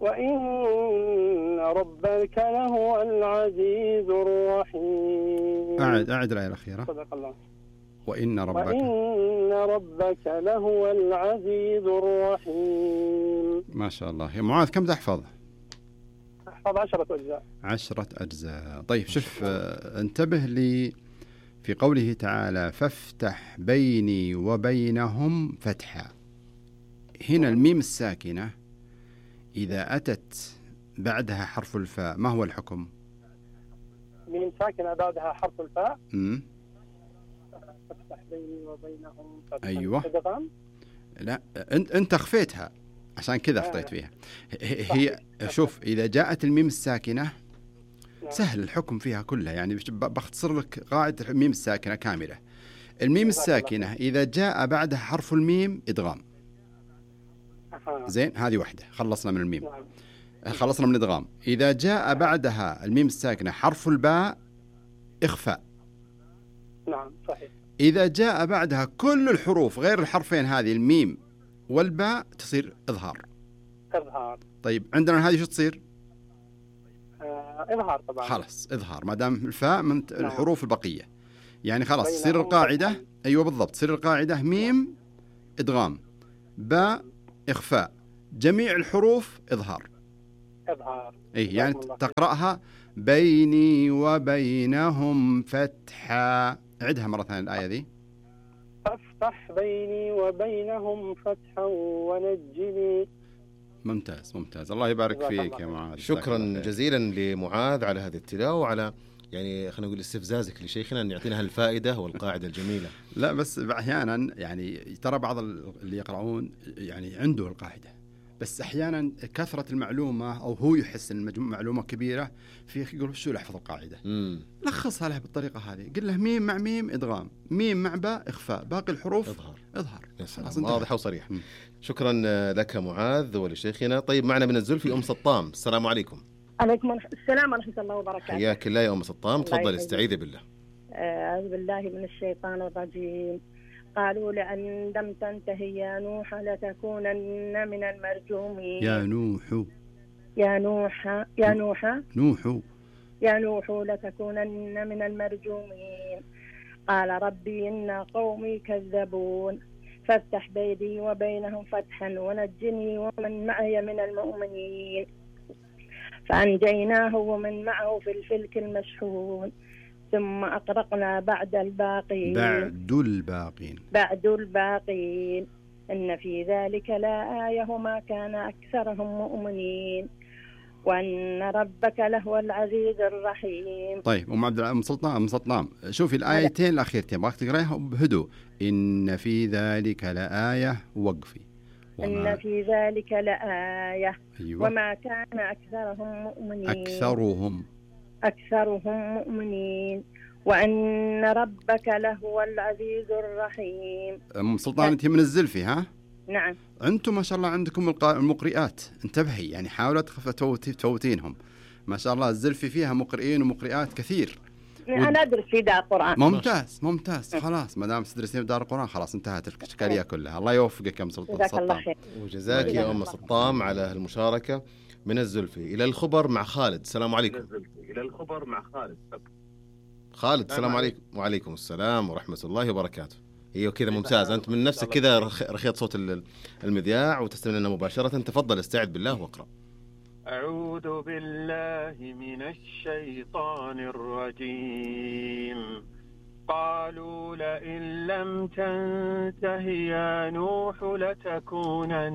وإن ربك لهو العزيز الرحيم. أعد الآية الأخيرة. صدق الله. وإن ربك لهو العزيز الرحيم. ما شاء الله. يا معاذ كم تحفظ؟ أحفظ 10 أجزاء. 10 أجزاء. طيب شوف، انتبه لي في قوله تعالى فافتح بيني وبينهم فتحا. هنا الميم الساكنة إذا أتت بعدها حرف الفاء ما هو الحكم؟ ميم ساكنة بعدها حرف الفاء. فافتح بيني وبينهم فتحا. أيوة. لا أنت أخفيتها عشان كذا أخطيت فيها. هي شوف إذا جاءت الميم الساكنة سهل الحكم فيها كلها، يعني بختصر لك قاعدة الميم الساكنة كاملة. الميم الساكنة إذا جاء بعدها حرف الميم إدغام. زين، هذه واحدة خلصنا من الميم. خلصنا من الإدغام. إذا جاء بعدها الميم الساكنة حرف الباء إخفاء. نعم صحيح. إذا جاء بعدها كل الحروف غير الحرفين هذه الميم والباء تصير إظهار. طيب عندنا هذه شو تصير؟ إظهار طبعا. خلاص إظهار ما دام الفاء من الحروف البقية، يعني خلاص تصير القاعدة. أيوة بالضبط، تصير القاعدة ميم إدغام، باء إخفاء، جميع الحروف إظهار. إيه يعني تقرأها بيني وبينهم فتحا. عدها مرة ثانية الآية ذي. فافتح بيني وبينهم فتحا ونجني. ممتاز الله يبارك فيك يا معاذ. شكرا جزيلا لمعاذ على هذه التلاوة وعلى يعني خلينا نقول استفزازك لشيخنا أن يعطينا هالفائدة والقاعدة الجميلة. لا بس أحيانا يعني ترى بعض اللي يقرؤون يعني عنده القاعدة، بس أحيانا كثرة المعلومة أو هو يحس أن المعلومة كبيرة فيه يقول شو لحفظ القاعدة. لخصها له بالطريقة هذه، قل له ميم مع ميم إدغام، ميم مع باء إخفاء، باقي الحروف إظهار. واضح وصريح. شكرا لك معاذ ولشيخنا. طيب معنا من الزلفي أم سطام. السلام عليكم. عليكم السلام ورحمة الله وبركاته. حياك الله يا أم سطام، تفضل استعيذي بالله. أعوذ بالله من الشيطان الرجيم. قالوا لأن لم تنتهي يا نوح لتكونن من المرجومين. يا نوح لتكونن من المرجومين. قال ربي إن قومي كذبون فافتح بيني وبينهم فتحا ونجني ومن معي من المؤمنين. فأنجيناه ومن معه في الفلك المشحون ثم أغرقنا بعد الباقين إن في ذلك لآية وما كان أكثرهم مؤمنين وأن ربك لهو العزيز الرحيم. طيب أم عبد أم سلطان شوفي الآيتين الأخيرتين باقي تقرأيها بهدوء. إن في ذلك لآية وقفي. إن في ذلك لآية. أيوة. وما كان أكثرهم مؤمنين. أكثرهم مؤمنين وأن ربك لهو العزيز الرحيم. أم سلطان أنت من الزلفي ها؟ نعم. أنتم ما شاء الله عندكم المقرئات، انتبهي يعني حاولت تفوتينهم. ما شاء الله الزلفي فيها مقرئين ومقرئات كثير. أنا أدرس في دار القرآن. ممتاز خلاص ما دام تدرسين في دار القرآن خلاص انتهت الإشكالية كلها. الله يوفقك يا أم سلطان. جزاك الله خير. وجزاك يا أم سطام على المشاركة. من الزلفي إلى الخبر مع خالد. السلام عليكم. خالد السلام عليكم. وعليكم السلام ورحمة الله وبركاته. ايوه كذا ممتاز، انت من نفسك كذا رخيت صوت المذياع وتستمع لنا مباشرة. تفضل استعد بالله واقرأ. أعوذ بالله من الشيطان الرجيم. قالوا لئن لم تنته يا نوح لتكونن